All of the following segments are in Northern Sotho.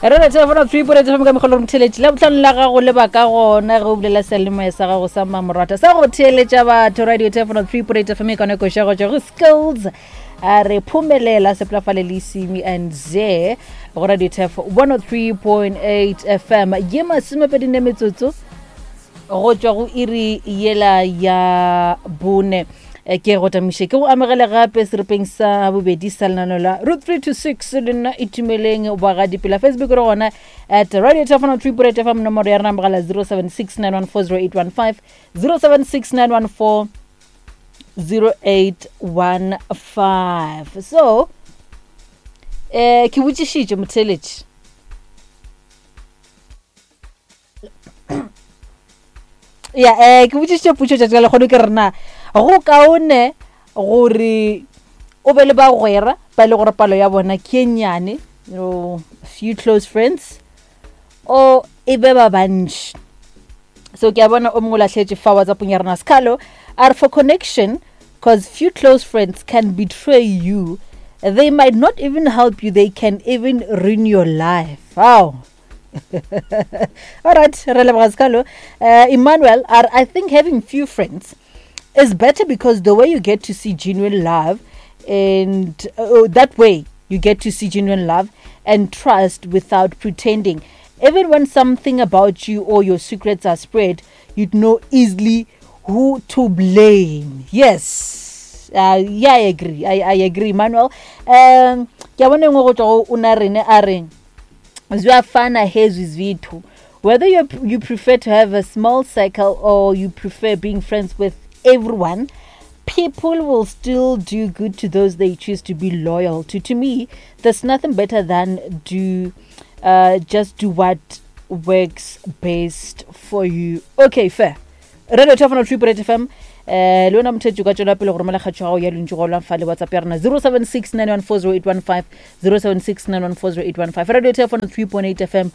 Re re telefono 3 point fm ka mogolo motheletši la botlhano la gago le ba ka gona ge o bolela seyalemoya sa gago sa mmamorata sa go theeletša batho radio telefono 3 point fm e kone koša go tšwa go skills a re phomelela seplafale le simi and ze go radio tef 103.8 fm ye masomepedine metsotso go tšwa go iri yela ya bone Eh, ke go tamiše ke go amogele gape seripeng sa bobedi sa lenano la root 3 to 6 le nna itumeleng bagadipela facebook re gona at radio telefono 3 point fm nomoro ya rena mogala 076 914 0815 076 914 0815 so eh ke botšišitše motheletši ya um ke botšišitše potšo tšatši la lekgono ke rena go kaone gore o be le bagwera ba e le gore palo ya bona ke e nnyane few close friends o e be ba bantši so ke a bona o mongwe o lahletše fa whatsappong ya rena sekgalo a re for connection cause few close friends can betray you they might not even help you they can even ruin your life wow All right, re leboga Sekalo. Emmanuel, I think having few friends is better because the way you get to see genuine love and uh, that way you get to see genuine love and trust without pretending. Even when something about you or your secrets are spread, you'd know easily who to blame. Yes. Uh, yeah, I agree. I, I agree, Manuel. Um, ke a bona e nngwe go tswa go o na rene a reng Ziyafana hezwi zwithu. Whether you, you prefer to have a small circle or you prefer being friends with everyone, people will still do good to those they choose to be loyal to. To me, there's nothing better than do uh, just do what works best for you. Okay, fair. Radio Thofano 3.8 FM eh le wena mothetši o ka tšwela pele go romela kgatšo ya gago ya lentšu go fa le whatsapp ya rena 0769140815 0769140815 radio Thofano 3.8 FM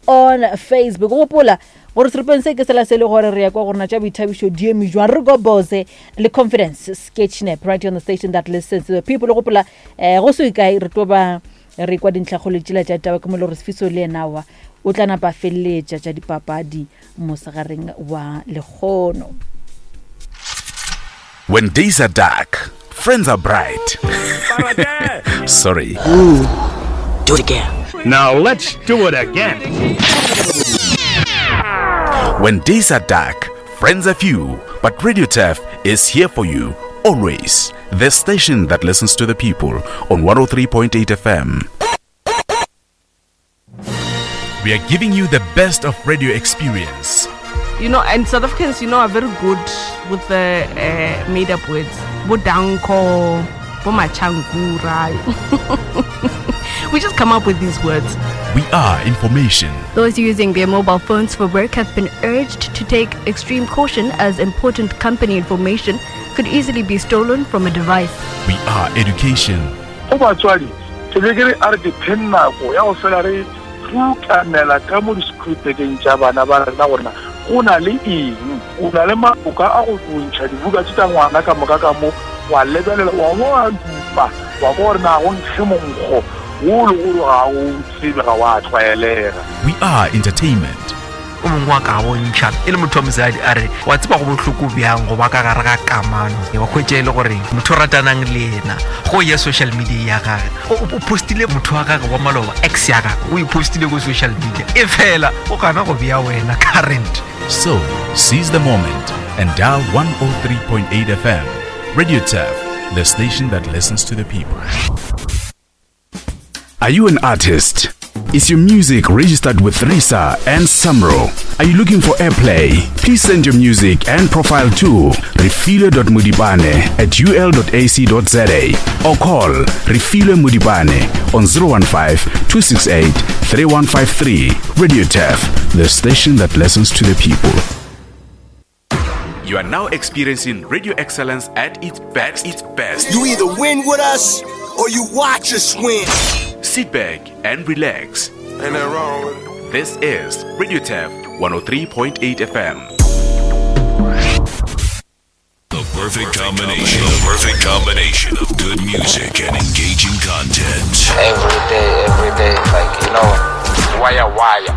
on facebook gopola gore seripeng se ke sela se le gore re ya kwa gorena tša boithabišo di eme jwang re gobose le confidence sketchnap right on the station that listens to the people gopola eh go se kae re tlo ba re kwa dintlhakgolo tšela tša taba ke mo le gore sefiso le ena wa o tla napa feleletša tša dipapadi mosegareng wa lekgono When days are dark, friends are bright. Sorry. Ooh, do it again. Now let's do it again. When days are dark, friends are few, but Radio Turf is here for you always. The station that listens to the people on 103.8 FM. We are giving you the best of radio experience. You know, and South Africans, you know, are very good with the uh, made up words. Bodanko, Bomachangura. we just come up with these words. We are information. Those using their mobile phones for work have been urged to take extreme caution as important company information could easily be stolen from a device. We are education. Go batswadi, ke be ke re a re ke pheng nako ya go fela re rukanela ka mo disekhurupekeng tša bana ba rena gore na go na le eng. O na le maloka a go ntšha dibuka tše tša ngwana ka moka ka mo, wa lebelela, wa bo wa dupa, wa kwa gore na go nkge monkgo wo le gore ga o tsebe, ga wa tlwaelega. We are entertainment. O mongwe wa ka bontšha e le motho wa mosadi a re wa tseba go bohloko bjang go ba ka gare ga kamano wa hwetša e le gore motho o ratanang le yena go ya social media ya gage o postile motho wa gage wa maloba ex ya gage o e postile ko social media e fela o gana go bea wena current So, seize the moment and dial 103.8 FM. Radio Turf, the station that listens to the people. Are you an artist? Is your music registered with RISA and SAMRO? Are you looking for airplay? Please send your music and profile to refile.mudibane at ul.ac.za or call Refile Mudibane on 015 268 3153. Radio Turf, the station that listens to the people. You are now experiencing radio excellence at its best. Its best. You either win with us or you watch us win. Sit back and relax. Ain't that wrong with it? This is Radio Turf 103.8 FM. The perfect combination. The perfect combination of good music and engaging content. Every day, every day, like, you know, why wa ya.